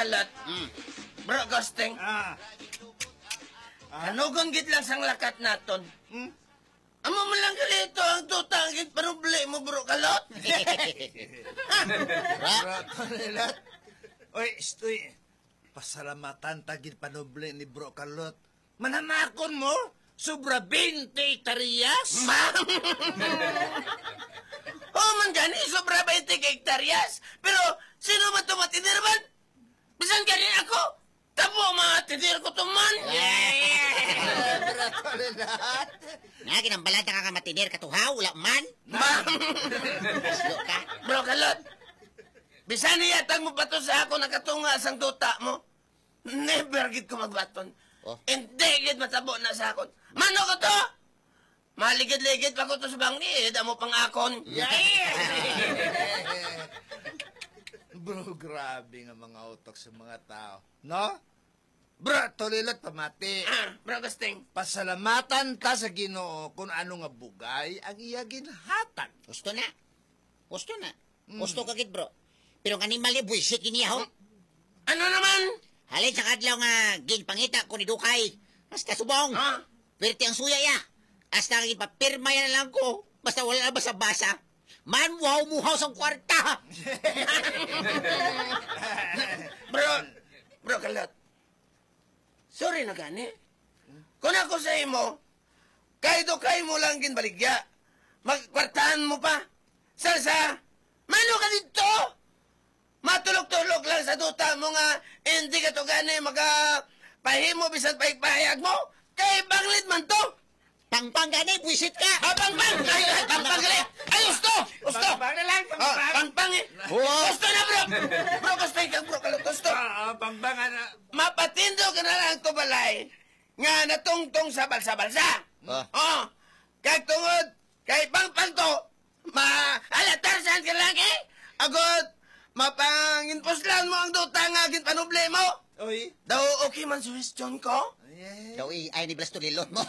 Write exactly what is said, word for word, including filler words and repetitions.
Kalot. Mm. Bro Gusting. Ah. Ah. Kanugon gid lang sang lakat naton. Hmm? Amo man lang gali ito ang duta ang ginpanubli mo, Bro Kalot. Bro Kalot. Oy, Istoy. Pasalamatan ta ginpanubli ni Bro Kalot. Manamakon mo, sobra twenty hektaryas? Ma-, oh, man gani, sobra twenty ka hektaryas. Pero sino man to matidir man? Bisan gani ako, tabo matidir ko to man. Bro Kalot. Nga, ginambalatan ka nga matidir ka to, ha? Wala man. Ma-, Islo ka. Bro Kalot, bisan niya tag mo pa to sa ako nakatunga sang duta mo. Never gid ko magbaton. Oh. Hindi gid matabo na sa akon. Mano ko to? Maligid-ligid pa ko to sa bangin, amo pang akon. Yeah. Bro, grabe nga mga utok sa mga tao, no? Bro, Tolilot, pamati. Ah, Bro Gusting. Pasalamatan ta sa Ginoo kung ano nga bugay ang iya ginhatag. Gusto na. Gusto na. Mm. Gusto ka gid, bro. Pero ang animal ni buwisit gid niya, ho. Ano naman? Halin sa kadlaw nga ginpangita ko ni Dukay, hasta subong. Ha? Perti ang suya ya. Hasta nga ginpapirma ya na lang ko. Basta wala na basa-basa. Man, wow, muhaw sang kwarta. Bro, bro, Kalot. Sorry na gani. Kung ako sa imo, kay Dukay mo lang ginbaligya. Magkwartahan mo pa. Salsa, mano ka dito? Matulog-tulog lang sa duta mo nga hindi ka to gani magapahimo bisan pahayag-pahayag mo. Kay banglit man to. Pangpang gani, buwisit ka. Ah, pangpang! Ay, ay, pangpang gani. Ay, gusto! Gusto! Pangpang na lang, ah, pangpang. Pangpang eh. Wow. Gusto na, bro! Bro, gusto ikaw, bro, Kalot, gusto. Ah, ah, pangpang, ano? Mapatindog ka na lang to balay nga natungtong sa balsa-balsa. Ah. Oh, kag tungod kay pangpang to, ma-, ala, Tarzan ka lang eh. Agod, mapanginpuslan mo ang duta nga ginpanubli mo. Oy. Daw okay man suhestyon ko? Ay, ay. Daw A I ni Blastulilot mo.